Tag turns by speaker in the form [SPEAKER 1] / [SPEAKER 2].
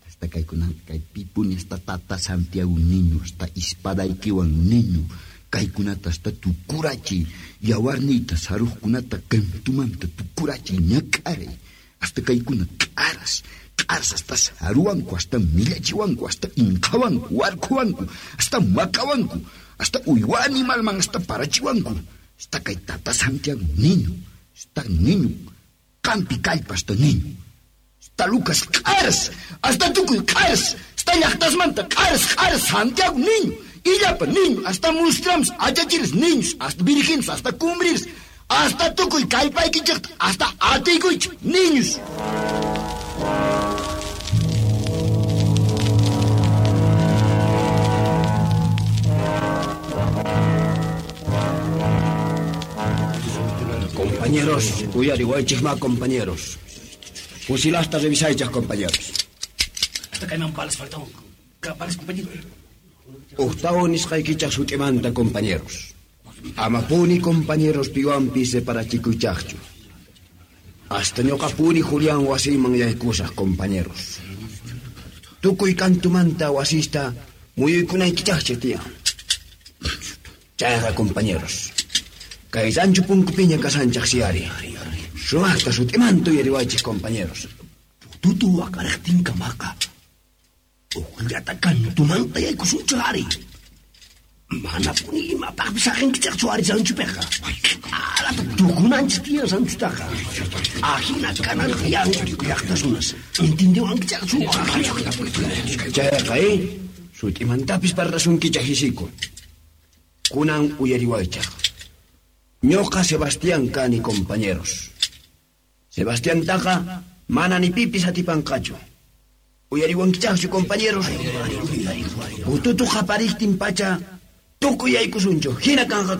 [SPEAKER 1] Hasta kaykunanqa kay pipuni hasta tata Santiago niño, hasta ispadaykiwan niño, kaykunata hasta tukurachiy, yawarniyta saruqkunata kantumanta tukurachiy ñak'aray, hasta kaykuna q'aras, q'aras hasta saruwanku, hasta millachiwanku, hasta inqhawanku, warkhuwanku, hasta maqawanku, hasta uywa animalman hasta parachiwanku, hasta kay tata Santiago niño, hasta niño, qampi kallpa hasta niño. Hasta Lucas q'aras, hasta tukuy q'aras, hasta llaqtasmanta q'aras, q'aras Santiago niño, illapa niño, hasta mustrams, achachiris niños, hasta virgenes, hasta cumbrirs, hasta tukuy kallpaykichikta, hasta atiykuychik niños.
[SPEAKER 2] Compañeros, uyariwaychikma compañeros. Fusilasta revisaychik compañeros.
[SPEAKER 3] Hasta kayman balas faltawan. Balas compañero.
[SPEAKER 2] Octavo nisqaykichaq sut'imanta compañeros. Amapuni compañeros piwanpi separachikuychaqchu. Hasta ñuqapuni Julián wasiyman yaykusaq compañeros. Tukuy kantumanta wasista muyuykunaykichaqchi tiyan. Chayqa compañeros. Kay rancho punkupiña kasanchaq siyari. Sumaqta sut'imanta uyariwaychik compañeros.
[SPEAKER 3] Tutu waqariqtinkamaqa uqllata kantumanta yaykusunchik ari. Manapuni imapaqpis saqinkichaqchu ari ranchupiqa. Q'arata tukunanchik tiyan ranchutaqa. Ahina kanan tiyan llaqta runas. Entendiwankichaqchu?
[SPEAKER 2] Chayqa, sut'imantapis parlasunkichaq hisiku. Kunan uyariwaychaq. Ñuqa Sebastián kani compañeros. Sebastián taqa mana ni pipis atipanqachu. Uyariwankichaqchu compañeros. Ututu qapariqtin pacha tukuy yaykusunchu. Hina kanqa.